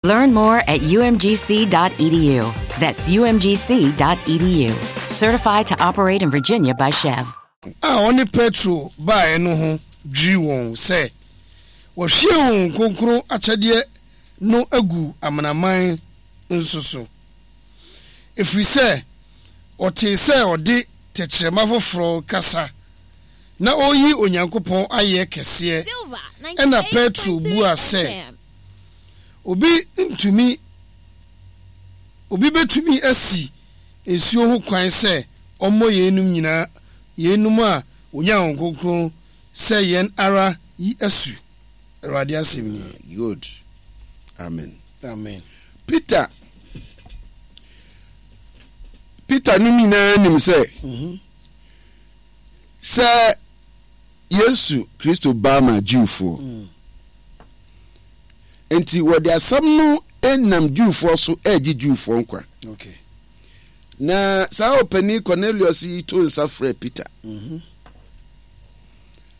Learn more at umgc.edu. That's umgc.edu. Certified to operate in Virginia by Chev. A ɔne Petro baeɛ no ho dwirii wɔn sɛ wɔahwie Honhom Kronkron akyɛdeɛ no agu amanaman nso so, ɛfiri sɛ wɔtee sɛ ɔde tɛkyerɛma foforɔ rekasa na ɔreyi Onyankopɔn ayɛ kɛseɛ. Ɛnna Petro buaa sɛ, Obi ntumi, obi bɛtumi asi nsuo ho kwan sɛ ɔmmɔ yeinom nyinaa, yeinom a wɔnyaa Honhom Kronkron sɛ yɛn ara yi asu? Awurade asɛm nie. Good. Amen. Amen. Peter, Peter no nyinaa nim sɛ sɛ Yesu Kristo ba ma Jewfoɔ. Mm. Enti wɔde asɛm no nam Jewfoɔ so regye Jewfoɔ nkwa. Okay. Na saa ɔpanin Cornelius yi to nsa frɛ Peter. Mm -hmm.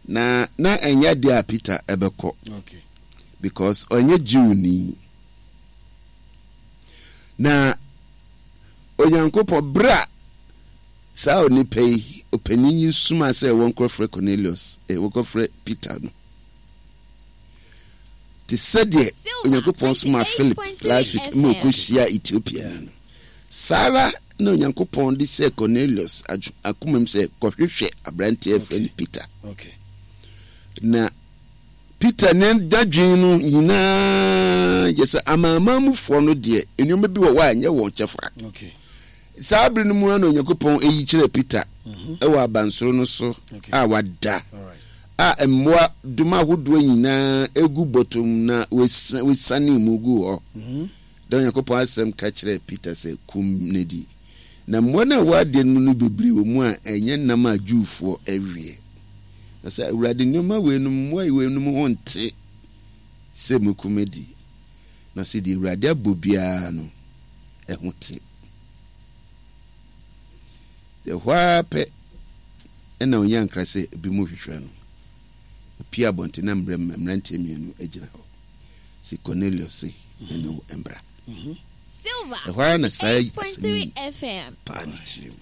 Na na ɛnyɛ adeɛ a Peter ɛbɛkɔ. Okay. Because ɔnyɛ Jewni. Na Onyankopɔn berɛ a Saa onipa yi, ɔpanin yi somaa sɛ wɔnkɔfrɛ Cornelius, eh, wɔnkɔfrɛ Peter no. Te sɛdeɛ Onyankopɔn somaa Philip last week ma ɔkɔhyia Ethiopia no, saa ara na Onyankopɔn de sɛ Cornelius akomam sɛ kɔhwehwɛ aberanteɛ frɛ no Peter. Okay. Na Peter ne dadwen no nyinaa yɛ sɛ amanamanmufoɔ no deɛ, nneɛma bi wɔ hɔ a ɛnyɛ wɔn kyɛfa. Saa bere no mu ara na Onyankopɔn yi kyerɛɛ Peter mhm. wɔ abansoro no so a wada a mmoa doma ahodoɔ nyinaa egu bɔtɔm na wɔsiane mu gu hɔ. Mhm. Da Onyankopɔn asɛm ka kyerɛɛ Peter sɛ kum no di. Na mmoa no a ɛwɔ adeɛ no mu no bebree wɔ mu a ɛnyɛ nam a Jewfoɔ weɛ. Na sɛ, Awurade, nneɛma weinom, mmoa weinom ho nte sɛ mɛkum adi. Na ɔse, deɛ Awurade abɔ biara no, ɛho te. Ɛhɔ ara pɛ ɛna ɔnya nkra sɛ ebinom hwehwɛ no. Opie abɔnten na mmerɛ mmeranteɛ mmienu gyina hɔ. Se Cornelius se yɛne wo mbra. Ɛhɔ ara na saa asɛm yi paa ne tirim.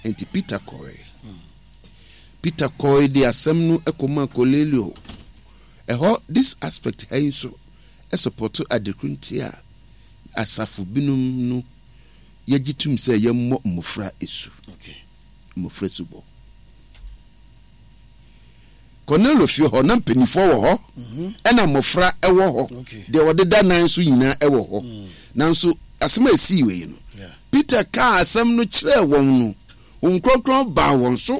Enti Peter kɔe. Peter kɔe de asɛm no kɔmaa Kornelio. Ɛhɔ, this aspect ha yi nso sɔpɔto adekoro nti a asafo binom no yɛgye tom sɛ yɛmmɔ mmofra asu. Mmofra asubɔ. Kornelio fie hɔ, na mpanimfoɔ wɔ hɔ, mhm. ɛna mmofra wɔ hɔ, deɛ wɔdeda nan so nyinaa wɔ hɔ. Mm. Nanso asɛm a ɛsii wei no, Peter kaa asɛm no kyerɛɛ wɔn no, Honhom Kronkron baa wɔn so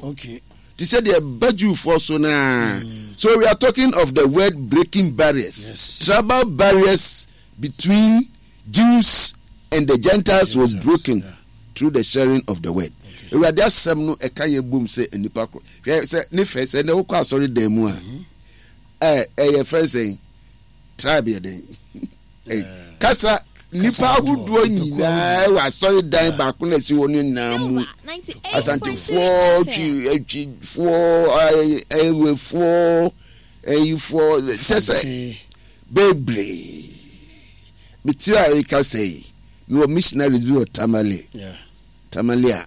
te sɛ deɛ ɛba Jewfoɔ so no ara. Mm. So we are talking of the word breaking barriers. Yes. Tribal barriers between Jews and the Gentiles was broken yeah. through the sharing of the word. Awurade asɛm no ɛka yɛ bom sɛ nnipa koro. Hwɛ sɛ ne fɛ sɛ na wokɔ asɔre dan mu a mm-hmm. ɛ ɛyɛ fɛn sɛn tribe yɛ dɛn kasa nipa ahodoɔ nyinaa wɔ asɔredan baako na ɛsi hɔ no nyinaa mu asantefoɔ twi atwifoɔ ɛwefoɔ ɛyifoɔ kyɛ sɛ bebree mete a ɛka sɛ yi mewɔ missionaries bi wɔ tamale tamale a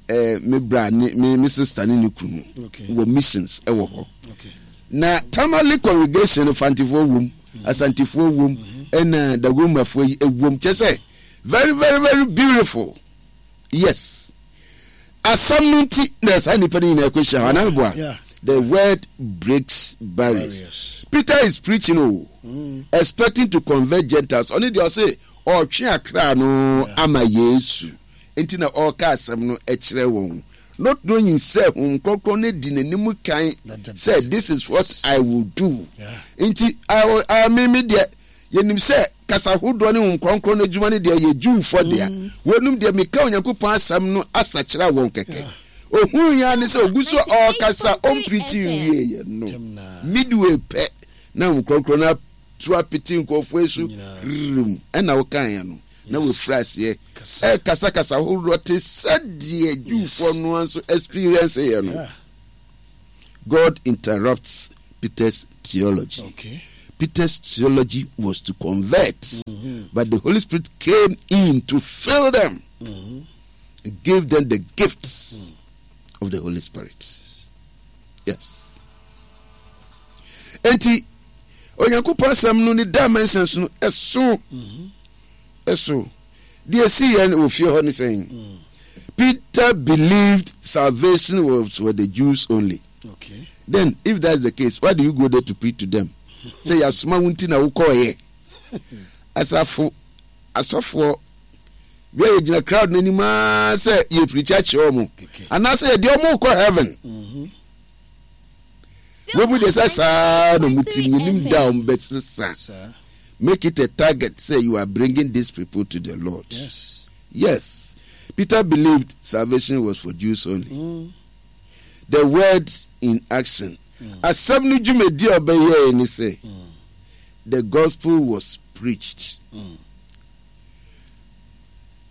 eh, me bra ne me me sister ne ne kunu wɔ missions wɔ hɔ na tamale congregation no fantifoɔ wom mm-hmm. asantefoɔ wom mm-hmm. ɛna dagomafoɔ yi wom kyɛ sɛ very very very beautiful yes asɛm no nti na saa nnipa no nyinaa kɔhyia hɔ anaa meboa the word breaks barriers. barriers. Peter is preaching oh, mm. expecting to convert Gentiles. Ɔne deɛ ɔse ɔtwe akra no ama Yesu. Enti na ɔreka asɛm no kyerɛ wɔn, not knowing sɛ Honhom Kronkron no di n'anim kan sɛ this is what I will do. Nti I, me, me deɛ, yɛnim sɛ kasa hodoɔ ne Honhom Kronkron no adwuma no deɛ yɛ Jewfoɔ dea. Mm. Wɔnum deɛ meka Onyankopɔn asɛm no asakyera wɔn kɛkɛ. Ohuu ya ne sɛ ogu so ɔrekasa ɔmprikyi nwieɛ no. Midway pɛ na Honhom Kronkron no atu apete nkurɔfoɔ so rrm ɛna wokaeɛ no. na wɔafiri aseɛ ɛrekasa kasa horoɔ te sɛdeɛ Jewfoɔ no nso experience yɛ no. God interrupts Peter's theology. Okay. Peter's theology was to convert, mm-hmm. but the Holy Spirit came in to fill them mm-hmm. and gave them the gifts mm. of the Holy Spirit. Yes. Enti, Onyankopɔn asɛm no ne dimensions no ɛso mm-hmm. ɛso deɛ ɛsi yɛn wɔ fie hɔ ne sɛn mm. Peter believed salvation was for the Jews only. Okay. Then if that's the case, why do you go there to preach to them? Sɛ yasoma wo nti na wokɔɔyɛ. Asafo asɔfoɔ bia yɛgyina crowd no anim aa sɛ yɛ preach akyerɛ wɔn anaasɛ yɛde wɔn kɔ heaven. Mm-hmm. Wɔn mu deɛ sɛ saa na wɔn tim yɛnim da wɔn bɛsesa. Make it a target sɛ you are bringing these people to the Lord. Yes. Yes. Peter believed salvation was for Jews only. Mm. The word in action. Asɛm no dwumadi a ɔbɛyɛe ne sɛ, the gospel was preached.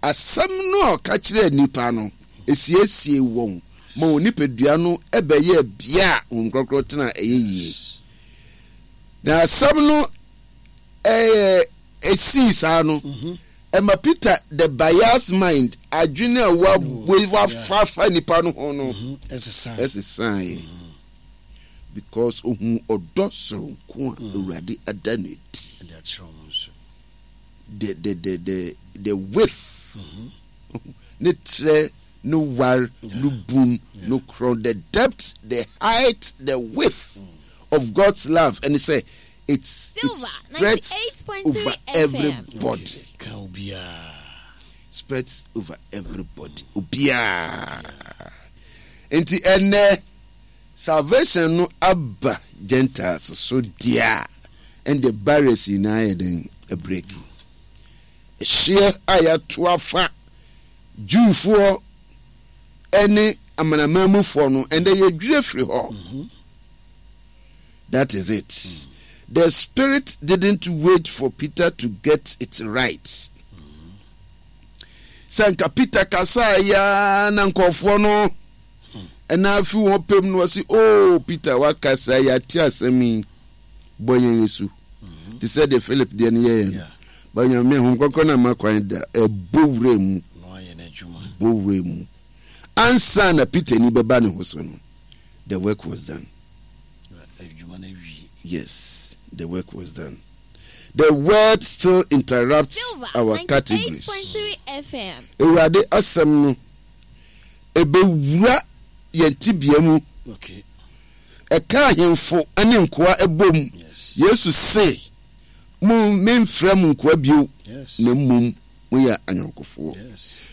Asɛm no a ɔka kyerɛɛ nnipa no, esiesiee wɔn ma wɔn nipadua no bɛyɛɛ bea a Honhom Kronkron tena a ɛyɛ yie. Na asɛm no ɛɛ esii saa no, Ɛma Peter the bias mind, adwene a wafa afa nipa no ho no, ɛsesaeɛ. Because ohun ɔdɔ soronko a Awurade ada no adi. The, the, the, the, the width, ne trɛ, ne war, ne bun, ne korɔn, the depth, the height, the width of God's love ɛne sɛ it it spreads over everybody. Spreads over everybody. Obiara. Nti ɛnɛ salvation no aba Gentiles so deɛ a ɛnde barriers nyinaa yɛ den break. Ɛhyeɛ a yɛato afa Jewfoɔ ɛne amanamanmufoɔ no ɛnɛ yɛdwiri afiri hɔ. Mm -hmm. That is it. Mm. The spirit didn't wait for Peter to get it right. Sɛ nka Peter kasaa ya na nkurɔfoɔ no ɛna afi wɔn pɛm no wɔsi oh Peter wakasa yɛate asɛm yi bɔ yɛn asu te sɛ deɛ Philip deɛ no yɛyɛ no ba nyame ho kɔkɔ na ma kwan da ɛbɔ wura mu bɔ wura mu ansa na Peter ni bɛba ne ho so no the work was done. Yes, the work was done. The word still interrupts Silver our categories. 98.3 FM. Awurade asɛm no ɛbɛwura yɛn tebea mu. Okay. Ɛka ahemfo ne nkoa bom. Yes. Yesu se, mo memfrɛ mo nkoa bio, Yes. na mmom moyɛ ayɔnkofoɔ.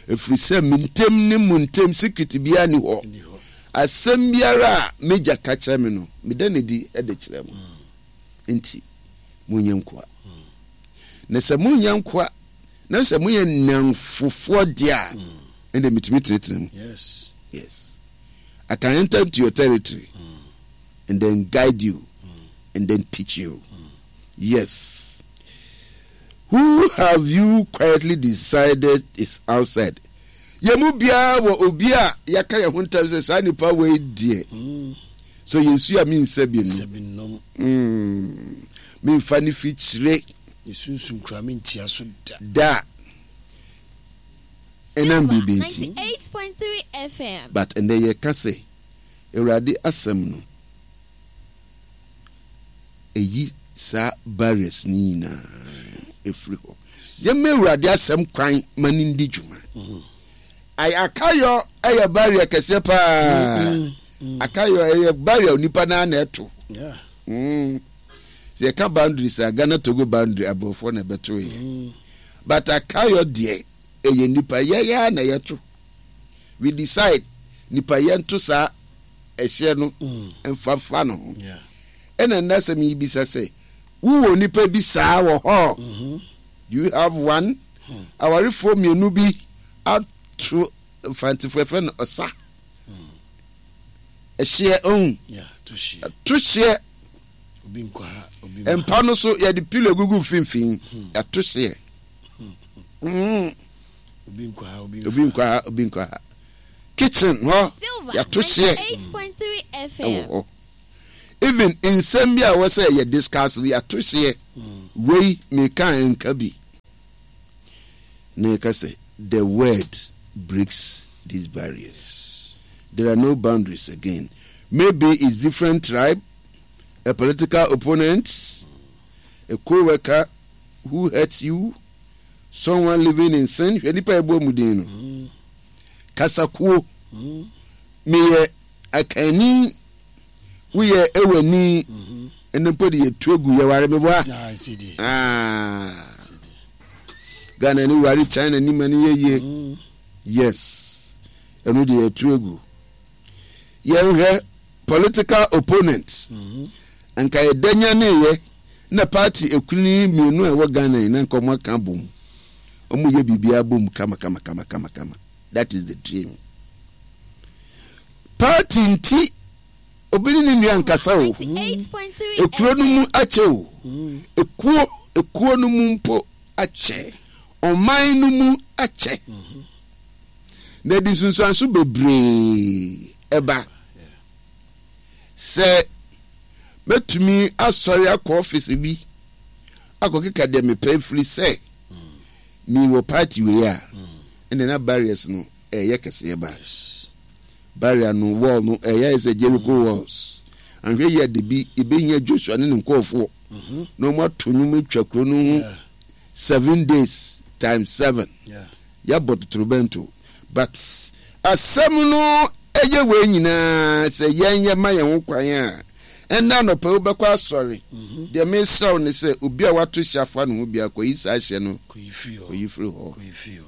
Ɛfiri sɛ me ntam ne mo ntam secret biara nni hɔ. Asɛm biara a m'agya ka kyerɛ me no, meda no adi de kyerɛ mo. Enti, monyɛ nkoa. Na sɛ monyɛ nkoa, na sɛ moyɛ nnamfofoɔ deɛ a, ɛnde metumi tenetene mo. Yes. Yes. I can enter into your territory and then guide you and then teach you. Yes. Who have you quietly decided is outside? Yɛn mu biara wɔ obi a yɛaka yɛn ho ntam sɛ saa nipa wei deɛ. Mm. So yɛn su a mensa bi no. Mm. Memfa ne fi kyerɛ. Sunsum kura mentia so da. Da. Ɛnam biribi nti. But ɛnɛ yɛka sɛ Awurade asɛm no. Ɛyi saa barriers no nyinaa ɛfiri hɔ. Yɛmma Awurade asɛm kwan ma no ndi dwuma. Akayɔ yɛ barrier kɛseɛ paa. Akayɔ ɛyɛ barrier onipa naa na ɛto. Sɛ yɛka boundaries a Ghana Togo boundary aborɔfoɔ na ɛbɛto yɛ. But akayɔ deɛ ɛyɛ nipa yɛn ara na yɛto. We decide nipa yɛnto saa ɛhyeɛ no mfa fa ne ho. Ɛna nnɛ asɛm yi bisa sɛ, wowɔ nipa bi saa wɔ hɔ? Mm-hmm. Do you have one? Hmm. Awarefoɔ mmienu bi ato mfantefoɔ ɛfɛ no ɔsa. Hmm. Ɛhyeɛ ohun. To hyeɛ. Mpa no so yɛde pilo gugu mfimfini. Hmm. Yɛato hyeɛ. Mm. Obi nkɔ ha, obi Obi nkɔ ha, obi nkɔ ha. Kitchen hɔ, Silver yɛato hyeɛ 98.3 ɛwɔ FM. hɔ. Even nsɛm bi a ɛwɔ sɛ yɛ discuss no yɛato hyeɛ. Wei meka a ɛnka bi. Na yɛka sɛ the word breaks these barriers. There are no boundaries again. Maybe it's different tribe, a political opponent, a co-worker who hurts you, someone living in sin. Hwɛ nipa ɛbɔ mu din no. Kasakuo. Meyɛ akanni woyɛ ewani ɛnɛ mpo de yɛtu agu yɛware meboa ah. Ghana ni ware China ni ma no yɛ yie mm. Yes, ɛno de yɛtu agu. Yɛnhwɛ political opponent mm-hmm. Nka yɛda nyaneyɛ na party ekunini mmienu a ɛwɔ Ghana yi na nka wɔn aka bom, wɔn yɛ biribiara bom kama kama kama kama kama. That is the dream. Party nti obi ne ne nua nkasa o. Ekuro no mu akyɛ o. Ekuo ekuo no mu mpo akyɛ. Ɔman no mu akyɛ. Na ɛde nsunsuanso bebree ɛba. Sɛ mɛtumi asɔre akɔ ɔfisi bi akɔkeka deɛ mepɛ firi sɛ mewɔ party wei a, ɛnna na barriers no ɛyɛ kɛseɛ ba. Barrier no, wall no, ɛyɛ ayɛ sɛ Jericho walls. Anhwɛ yie a da bi yɛbɛhia Joshua ne ne nkurɔfoɔ na wɔn ato nnwom atwa kuro no ho 7 days times 7. Yɛabɔ totorobɛnto. But asɛm no ɛyɛ wei nyinaa sɛ yɛn yɛma yɛn ho kwan a, ɛnnɛ anɔpa yi wobɛkɔ asɔre. Deɛ mesrɛ wo ne sɛ obi a wato hyɛ afa ne ho biara kɔyi saa hyɛ no kɔyi firi hɔ.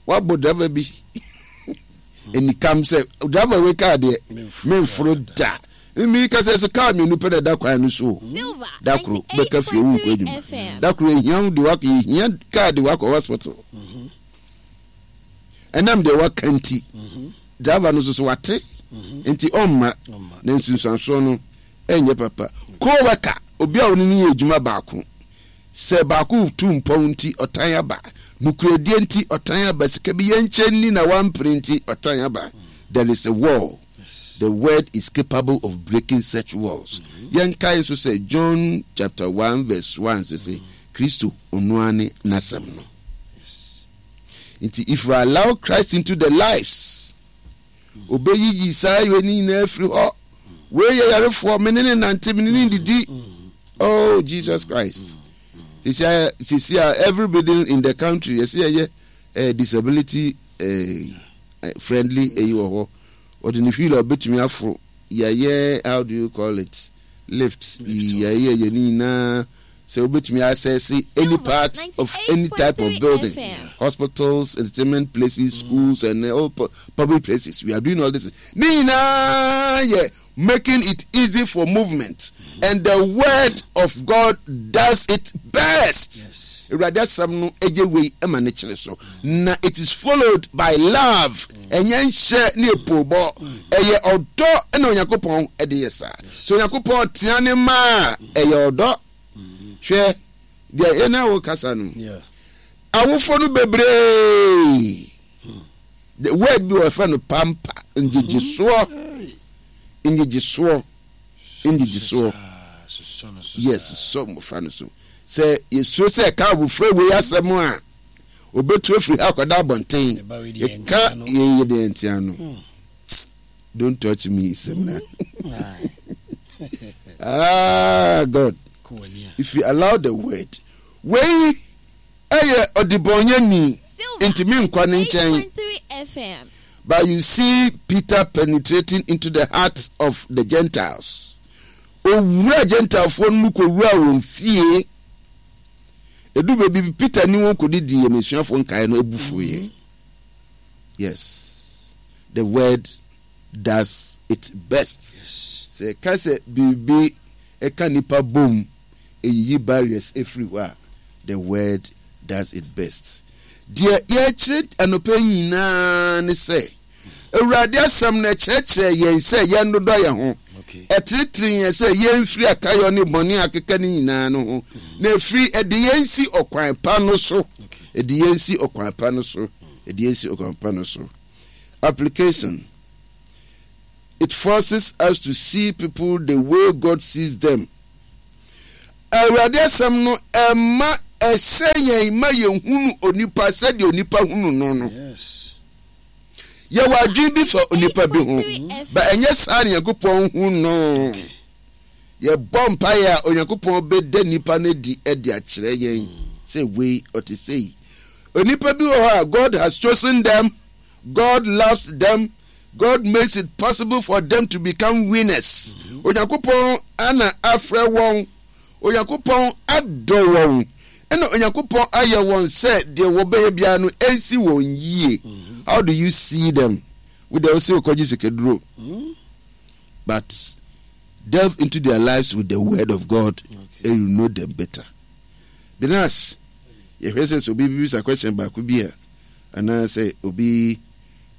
Wabɔ driver bi anikam sɛ driver wei kaa deɛ memforo da. Mimi kasa so kaa mmienu pɛ na ɛda kwan no so o. Da koro bɛka fie wo nkɔ adwuma. Da koro ehia wo de wakɔ ehia kaa de wakɔ hospital. Ɛnam deɛ waka nti driver no nso so wate nti ɔmma na nsunsuansoɔ no ɛnyɛ papa. Co-worker, obi a ɔne no yɛ adwuma baako. Sɛ baako retu mpɔn nti, ɔtan aba. Nokorɛdie nti, ɔtan aba. Sika bi yɛnkyɛ nni na wampere nti, ɔtan aba. There is a wall. The word is capable of breaking such walls. Yɛnkae nso sɛ John chapter 1 verse 1 sɛ sɛ Kristo ɔno ara ne n'asɛm no. Nti if you allow Christ into the lives, Obeyiyi saa wei ne nyinaa afiri hɔ. Wei yɛ yarefoɔ, me ne ne nante, me ne ne didi. Oh, Jesus Christ. Sisi a, sisi a, every building in the country, yɛsi yɛyɛ eh, disability eh, eh, friendly eyi wɔ hɔ. Ɔde ne wheel a obetumi aforo. Yɛyɛ, how do you call it? Lift. Yɛyɛ yɛ ne nyinaa sɛ wobɛtumi access any part of any type of building, hospitals, entertainment places, schools and all public places. We are doing all this. Ne nyinaa yɛ making it easy for movement, and the word of God does it best. Awurade asɛm no ɛyɛ wei ɛma ne kyerɛ so na it is followed by love. Ɛnyɛ nhyɛ ne epoobɔ, ɛyɛ ɔdɔ ɛna Onyankopɔn ɛde yɛ saa. So Onyankopɔn tea ne mma a, ɛyɛ ɔdɔ. Hwɛ deɛ yɛn a wɔkasa no, awofoɔ no bebree, the word bi wɔfrɛ no pampa, ngyegyesoɔ, ngyegyesoɔ, ngyegyesoɔ. Yes, sɔ mmɔfra no so. Sɛ yɛsuro sɛ ɛka abofra wei asɛm a, obetu afiri ha akɔda abɔnten. Ɛka yɛn yɛ deɛ ntia no. Don't touch me, Semna. Ah, God. If you allow the word, wei ɛyɛ ɔdebɔnyɛni nti mi nkɔ ne nkyɛn. But you see Peter penetrating into the hearts of the Gentiles. Owura Gentilefoɔ no mu kɔwura wɔn fie. Edu baabi bi Peter ne wɔn kɔdidi yɛ n'asuafoɔ nkaeɛ no abufuiɛ. Yes, the word does it best. Sɛ yɛka sɛ biribi ka nnipa bom, ɛyiyi barriers firi hɔ a, the word does it best. Deɛ yɛrekyerɛ anɔpa yi nyinaa ne sɛ, Awurade asɛm no ɛkyerɛkyerɛ yɛn sɛ yɛnnodɔ yɛn ho. Ɛtenetene yɛn sɛ yɛmfiri akayɔ ne bɔne a akeka no nyinaa no ho, na ɛfiri ɛde yɛn si ɔkwan pa no so. Ɛde yɛn si ɔkwan pa no so. Ɛde yɛn si ɔkwan pa no so. Application. It forces us to see people the way God sees them. Awurade asɛm no ɛma ɛhyɛ yɛn ma yɛhunu onipa sɛdeɛ onipa hunu no no. Yɛwɔ adwene bi fa onipa bi ho, ba ɛnyɛ saa na Nyankopɔn hu no. Yɛbɔ mpaeɛ a Onyankopɔn bɛda nipa no adi de akyerɛ yɛn sɛ wei ɔte sei. Onipa bi wɔ hɔ a God has chosen them, God loves them, God makes it possible for them to become winners. Onyankopɔn ana afrɛ wɔn, Onyankopɔn adɔ wɔn, ɛna Onyankopɔn ayɛ wɔn sɛ deɛ wɔbɛyɛ biara no ɛnsi wɔn yie. How do you see them? Wo deɛ wose wokɔgye sikaduro. But delve into their lives with the word of God okay. and you know them better. Binash, yɛhwɛ sɛ sɛ obi bibisa question baako bi a anaasɛ obi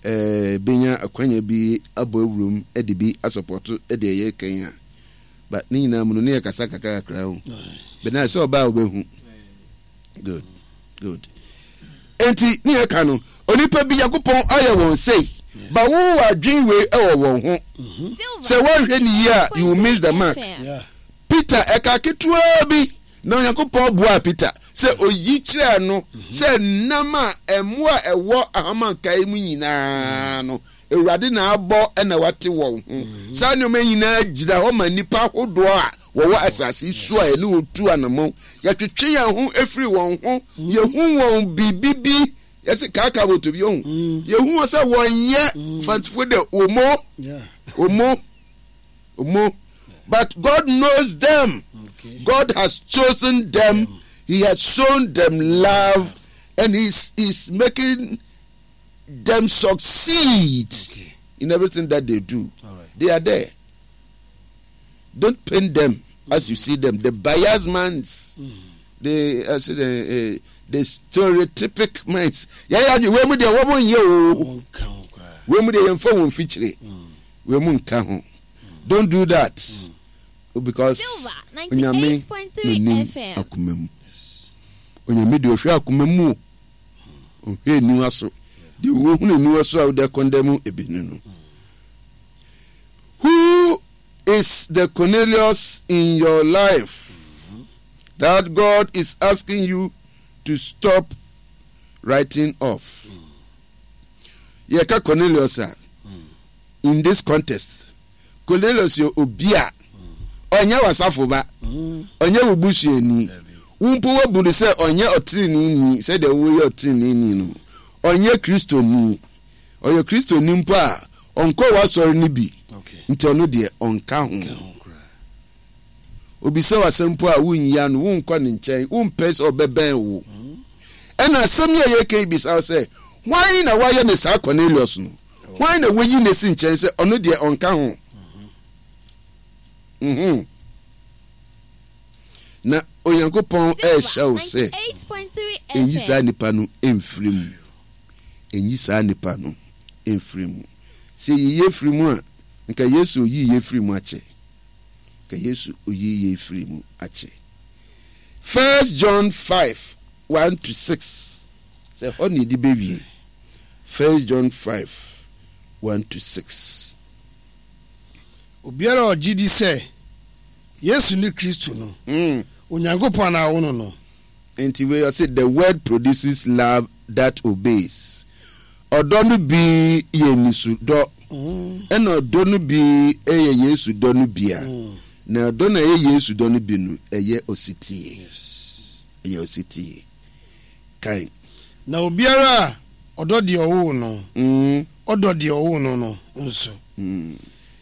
eh, benya akwanya bi abɔ awurom de bi asɔpɔto de ɛyɛ kan a but ne nyinaa mu no ne yɛ kasa kakra kakra o bɛna sɛ ɔbaa wobɛhu good good enti ne yɛ ka no onipa bi Nyankopɔn ayɛ wɔn sei ba wo wɔ adwen wei ɛwɔ wɔn ho sɛ woanhwɛ ne yie a you will miss the mark Peter ɛka ketewaa bi Na Onyankopɔn buaa Peter sɛ oyi kyerɛɛ no sɛ nam a mmoa a ɛwɔ ahamankae mu nyinaa no, Awurade na abɔ na wate wɔn ho. Saa nneɛma yi nyinaa gyina hɔ ma nnipa ahodoɔ a wɔwɔ asase so a yɛne wɔn tu anammɔn. Yɛtwetwe yɛn ho firi wɔn ho, yɛhu wɔn biribi bi, yɛse kaaka boto bi, ohu. Yɛhu wɔn sɛ wɔnyɛ fantifo dɛ, omo, omo. Omo. But God knows them. Okay. God has chosen them. He has shown them love, and He's, he's making them succeed okay. in everything that they do. Right. They are there. Don't paint them as you see them. The biased minds, mm. the uh, the, uh, the stereotypic minds. Yeah, yeah, we mu de wɔn nyɛ o. We mu de yɛn fa wɔn fikyire. Wei mu nka ho. Don't do that because Onyame na onim akoma mu. Onyame deɛ ɔhwɛ akoma mu o. Ɔnhwɛ aniwa so. Deɛ wohunu aniwa so a wode akɔndɛm ebi no no. Who is the Cornelius in your life that God is asking you to stop writing off? Yɛka Cornelius a, in this context, Cornelius yɛ obi a ɔnyɛ w'asafo ba, ɔnyɛ wo busuani. Wo mpo woabu no sɛ ɔnyɛ ɔtreneeni sɛdeɛ woyɛ ɔtreneeni no. Ɔnyɛ Kristoni. Ɔyɛ Kristoni mpo a, ɔnkɔ w'asɔre no bi, nti ɔno deɛ ɔnka ho. Obisa wo asɛm mpo a, wonyi ano, wonkɔ ne nkyɛn, wompɛ sɛ ɔbɛbɛn wo. Ɛna asɛm yi a yɛreka yi bisa wo sɛ, hwan na wayɛ ne saa Cornelius no? Hwan na wayi no asi nkyɛn sɛ ɔno deɛ ɔnka ho? Mhm. Na Onyankopɔn ɛrehyɛ wo sɛ ɛnyi saa nipa no mfiri mu. Ɛnyi saa nipa no mfiri mu. Sɛ yɛyi firi mu a, nka Yesu oyii yɛ firi mu akyɛ. Ka Yesu oyii yei firii mu akyɛ. First John 5, 1 to 6. Sɛ hɔ na yɛde bɛwie. First John 5, 1 to 6. Obiara a ɔgye di sɛ Yesu ne Kristo no, mm. Onyankopɔn na awo no no. Nti wei ɔse the word produces love that obeys. Ɔdɔ no bi yɛ nisu dɔ, ɛna ɔdɔ no bi yɛ Yesu dɔ no bi a, na ɔdɔ no a ɛyɛ Yesu dɔ no bi no, ɛyɛ osetie. Ɛyɛ osetie. Kan. Na obiara a ɔdɔ deɛ ɔwoo no, ɔdɔ deɛ ɔwoo no no nso.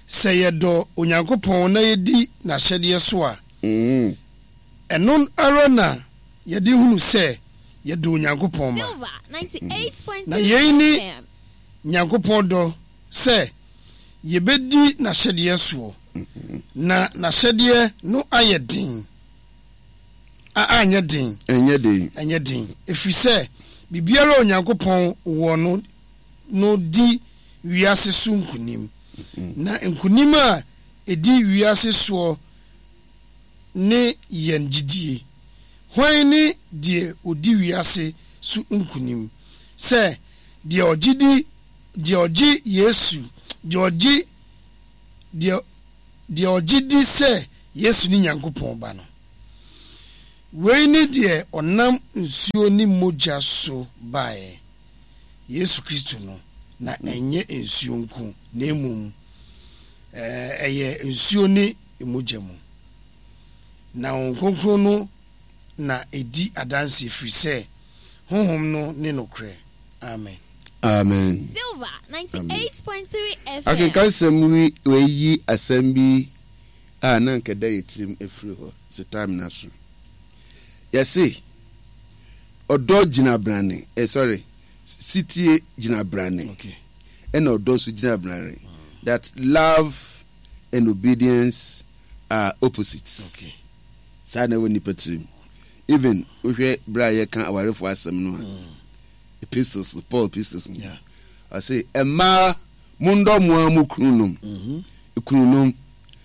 Sɛ yɛdɔ Onyankopɔn na yɛdi n'ahyɛdeɛ so a, Ɛno ara na yɛde hunu sɛ yɛdɔ Onyankopɔn mma. Na yei ne Nyankopɔn dɔ, sɛ yɛbɛdi n'ahyɛdeɛ soɔ, na n'ahyɛdeɛ no ayɛ den, a anyɛ den, Ɛnyɛ den. ɛnyɛ den, ɛfiri sɛ biribiara a Onyankopɔn wɔ no no di wiase so nkonim, na nkonim a ɛdi wiase soɔ ne yɛn gyidie. Hwan ne deɛ ɔdi wiase so nkonim? Sɛ deɛ ɔgye di, deɛ ɔgye Yesu, deɛ ɔgye. Deɛ, deɛ ɔgye di sɛ Yesu ne Nyankopɔn Ba no. Wei ne deɛ ɔnam nsuo ne mogya so baeɛ, Yesu Kristo no, na ɛnyɛ nsuo nko, na mmom ɛyɛ nsuo ne mogya mu. Na Honhom Kronkron no na ɛdi adanseɛ, ɛfiri sɛ Honhom no ne nokorɛ. Amen. Amen. Amen. Akenkansɛm wi wei yi asɛm bi a na anka ɛda yɛ tirim afiri hɔ sɛ time no aso. Yɛse ɔdɔ gyina brane, eh, sorry, sitie gyina brane. Okay. Ɛna ɔdɔ nso gyina brane. That love and obedience are opposites. Okay. Saa na ɛwɔ nipa tirim. Even wohwɛ berɛ a yɛka awarefoɔ asɛm no a, mm. epistles, Paul epistles no. Yeah. Ɔse mmaa mondɔ mo ara mo kununom. Mm-hmm. Kununom.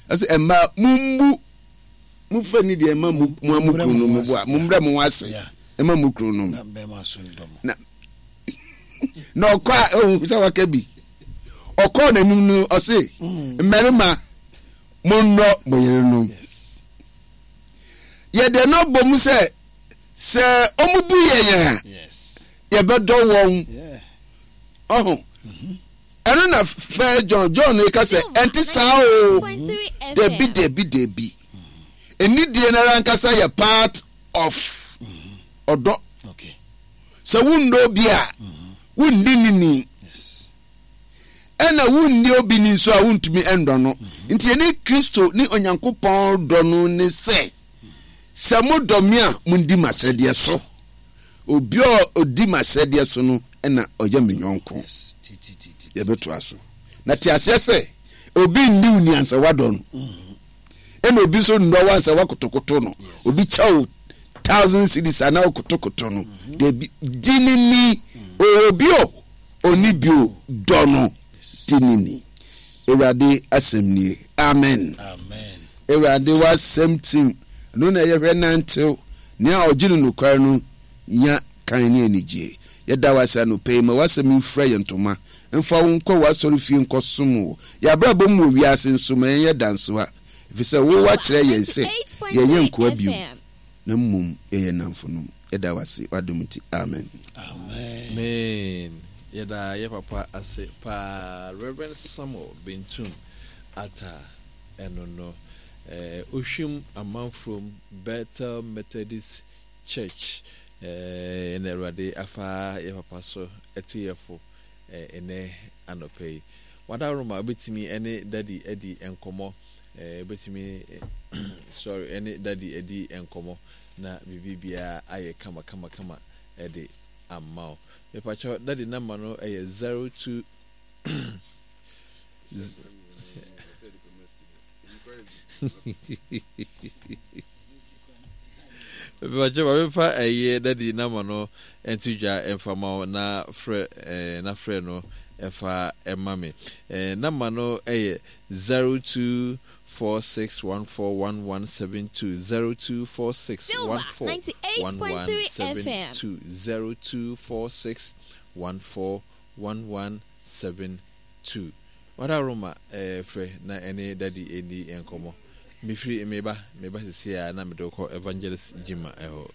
Ɔse mmaa mombu momfa ni deɛ ɛma mo mo ara mo kununom bo a mommrɛ mo ho ase ɛma mo kununom. Na na ɔkɔ a ɔhu sɛ waka bi. Ɔkɔɔ n'anim no ɔse mm. mmarima monnɔ mo yerenom. Yɛde no bɔ mu sɛ sɛ wɔn bu yɛn a yɛbɛdɔ wɔn ɔho mm-hmm. ɛno na fɛ John John ka sɛ ɛnte saa o dabi dabi dabi anidie no ara ankasa yɛ part of mm-hmm. ɔdɔ sɛ wonnɔ obi a mm-hmm. wonni ne ni ɛna wonni obi ni nso a wontumi ndɔ no nti ɛne Kristo ne Onyankopɔn dɔ no ne sɛ Sɛ modɔ me a, mundi m'asɛdeɛ so. Obi a ɔdi m'asɛdeɛ so no na ɔyɛ me yɔnko. Yɛbɛtoa so. Na te aseɛ sɛ, obi nni wo ni ansa woadɔ no. Ɛna obi nso nnɔ wo ansa woakotokoto no. Obi kyɛ wo thousand cedis a na wokotokoto no. Dabi, di ne ni. Ɔwɔ bi o, ɔnni bi o, dɔ no. Di ne ni. Awurade asɛm nie. Amen. Amen. Awurade w'asɛm tim, ɛno na yɛhwɛ nantew. Nea ɔgye no nokware no nya kan ne anigye. Yɛda wo ase anɔpa yi, ma w'asɛm mfura yɛn ntoma, mfa wo nkɔ w'asɔrefie nkɔsom wo. Yɛn abrabɔ mu wɔ wiase nso, ma yɛnyɛ dansoa, efisɛ wo woakyerɛ yɛn sɛ yɛnyɛ nkoa bio, na mmom yɛyɛ nnamfonom. Yɛda wo ase w'adom nti. Amen. Amen. Yɛda yɛ papa ase paa Rev. Samuel Bentum Attah. Ɛno no, Ohwim Amanfrom Bethel Methodist Church na Awurade afa yɛ papa so atu yɛ fo nnɛ anɔpa yi. Wadaworoma wobɛtumi ne Daddy adi nkɔmmɔ, wobɛtumi sorry ne Daddy adi nkɔmmɔ na biribi biara ayɛ kama kama kama de ama wo. Mepakyɛw Daddy number no yɛ 02 Mepakyɛ ma memfa ɛyɛ dadi nama no nto dwa mfa ma wo na frɛ eh, na frɛ no ɛfa ɛma me. Eh, nama no ɛyɛ 0246141172 0246141172 0246141172. Tu. Wada Roma eh, frɛ na ɛne daddy ɛnni nkɔmmɔ. Mefiri meba, meba seesei ara na mede wo kɔ Evangelist Gyimah hɔ.